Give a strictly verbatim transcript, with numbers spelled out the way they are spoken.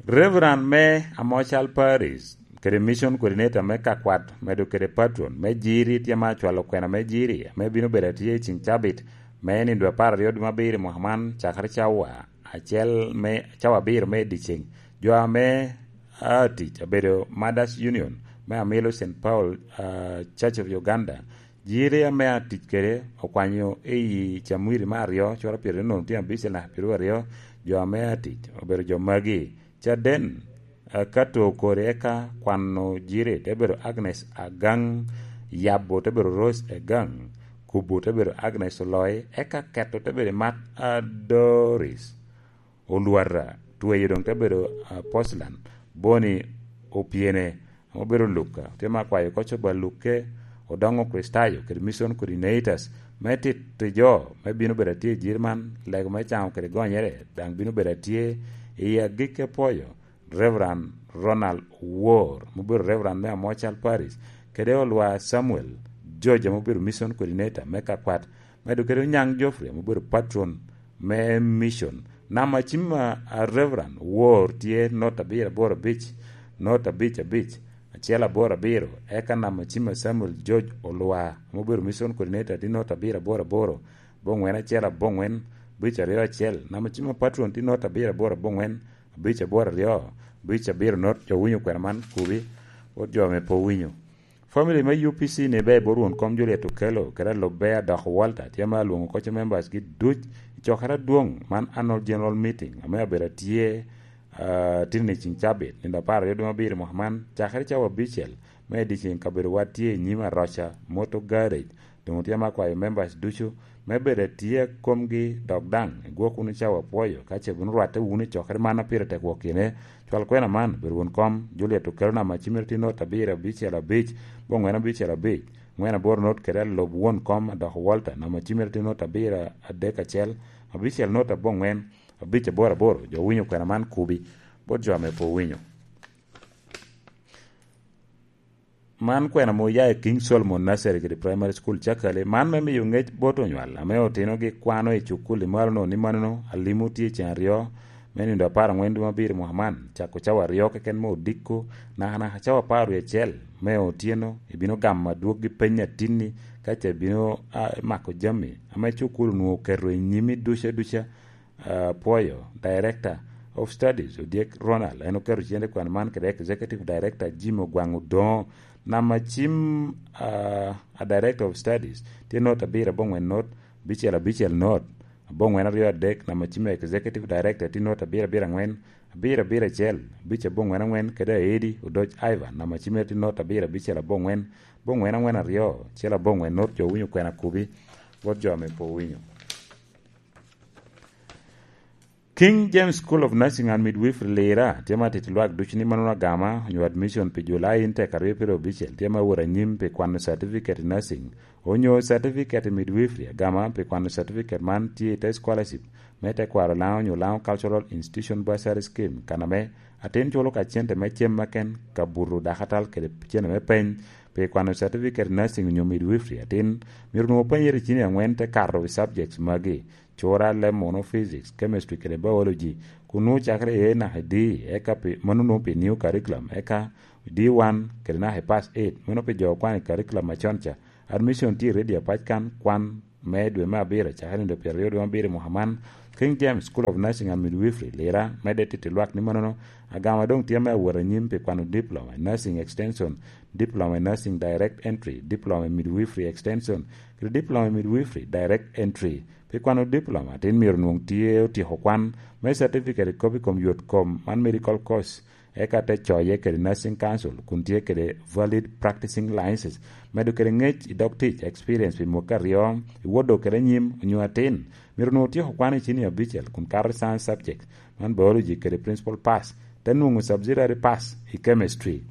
Reverend me Amocal Parish kede Mission Coordinator me Kakwat medo kede patron me Jiri tye ma acwalo kwena me Jiri ame bino bedo atye i ceng cabit me nindo apar aryo dwe me abiro i mwaka man cakere cawa acel me cawa abiro me dyeceng. Jo ame a tic abedo Mothers Union me Amilo Saint Paul, ah, Church of Uganda. Jiri ame a tic kede okwanyo i Camwiri me aryo cura pyeraryo nono tye abicel naka pyeraryo aryo. Jo ame a tic obedo jo magi: Caden, eh, Kato Kori, eka kwano Jiri te bedo Agnes Agang, Yabo te bedo Rose Agang, Kubu te bedo Agnes Oloi, eka Keto te bedo Mat Adoris Olwata, Tweyo doŋ te bedo, ah, Poslan, Boni Opyene, ame obedo Luka, tye ma akwayo koco ba Luke, Odoŋo Kricitayo kede Mission Coordinators me tito jo me bino bedo atye i jir man, lego me caŋo kede gonyere daŋ bino bedo atye i agikki apwoyo Reverend Ronald Wor, ma obedo Reverend me Amocal Parish, kede Olwa Samuel George, ma obedo Mission Coordinator me Kakwat, medo kede Onyaŋ Geoffrey, ma obedo patron me mission. Namba cim a, a Reverend Wor tye not abiro aboro abic, not abic abic, acel aboro abiro, eka namba cim a Samuel George Olwa, ma obedo Mission Coordinator, tye not abiro aboro aboro, bongwen acel abongwen, abic aryo acel. Namba cim a patron tye not abiro aboro abongwen, abic aboro aryo, abic abiro not. Jo winyo kwena man kubi, bot jo ame pe owinyo. Family me U P C ni bea i bot won kom Juliet Okello, kede alubbe Adok Walter, tye ma alwoŋo koco members gi duc i cokere adwoŋ man annual general meeting, ame abedo atye, ah, tin i ceng cabit, nino apar aryo dwe me abiro mwaka man, cakere cawa abicel me dyeceng. Kabedowa tye i nyim Aroca Motor Garage, doŋ tye ma akwayo members ducu me bedo atye komgi, dok daŋ igwok wunu cawa apwoyo ka ce bino rwatte wunu i cokere man a pire tek wok kine. Cwal kwena man, bedo won kom Juliet Okello, namba cimere tye not abiro abicel abic, bongwen abicel abic, ngwen aboro not kede alub won kom Adok Walter, namba cimere tye not abiro adek acel, abicel not abongwen, abic aboro aboro. Jo winyo kwena man kubi, bot jo ame pe owinyo. Man kwena ame oya i King Solomon Nursery kede Primary School, Cakali. Man me miyo ŋec bot onywal ame otinogi kwano i cukul i malo-nu ni manono alimo tye i ceng aryo me nino apar angwen dwe me abiro mwaka man, cako cawa aryo keken me odiko, nakanaka cawa apar wie acel me otyeno, ibino gamo adwoggi peny atinni, ka ce ibino, a, mako jami ame cukul onwoŋo oketo i nyimi duca duca. Ah, pwoyo, Director of Studies, Odyek Ronald, en oketo cente kwan man kede Executive Director Jim Ogwaŋ Odoŋo. Namba cim, ah, a Director of Studies tye not abiro abongwen not, abicel abicel not, abongwen aryo adek. Namba cim a Executive Director tye not abiro abiro angwen, abiro abiro acel, abic abongwen angwen, kede Aedi Odoc Ivan, namba cimere tye not abiro abicel abongwen, abongwen angwen aryo, acel abongwen not. Jo winyo kwena kubi, bot jo ame pe owinyo. King James School of Nursing and Midwifery Lira tye ma tito lwak ducu ni mano agama onyo admission pi July intek aryo pyerabicel tye ma wot anyim pi kwano certificate i nursing onyo certificate i midwifery. Agama pi kwano certificate man tye i te scholarship me tekwaro Laŋo onyo Laŋo Cultural Institution Bursary Scheme, kan ame atin culo ka cente me cem maken, kabuto, dakatal kede cente me peny. Pi kwano certificate i nursing onyo midwifery atin, myero onwoŋo penyere i cini angwen te kato i subjects magi: cura, leb muno, physics, chemistry kede biology, kun nwoŋo cakere i A naka i D, eka pi, mano nwoŋo pi new curriculum, eka D one kede naka i pass eight, meno pi jo okwano i curriculum acon ca. Admission tye ready apac kan, kwan me dwe me abiro, cakere nino pyeraryo dwe me abiro i mwaka man. King James School of Nursing and Midwifery, Lira, medde tito lwak ni manono, agama doŋ tye me awot anyim pi kwano diploma i nursing extension, diploma i nursing direct entry, diploma i midwifery extension, kede diploma i midwifery direct entry. Pi kwano diploma, atin myero onwoŋ tye otyeko kwan me certificate i kop i kom yot kom man medical course, eka te coye kede Nursing Council, kun tye kede valid practicing licenses, medo kede ŋec i dog tic, experience pi mwaki aryo, i wot dok kede anyim, onyo atin myero onwoŋo otyeko kwan i cini abicel, kun kato i science subject, man biology kede principal pass, te nwoŋo subsidiary pass i chemistry.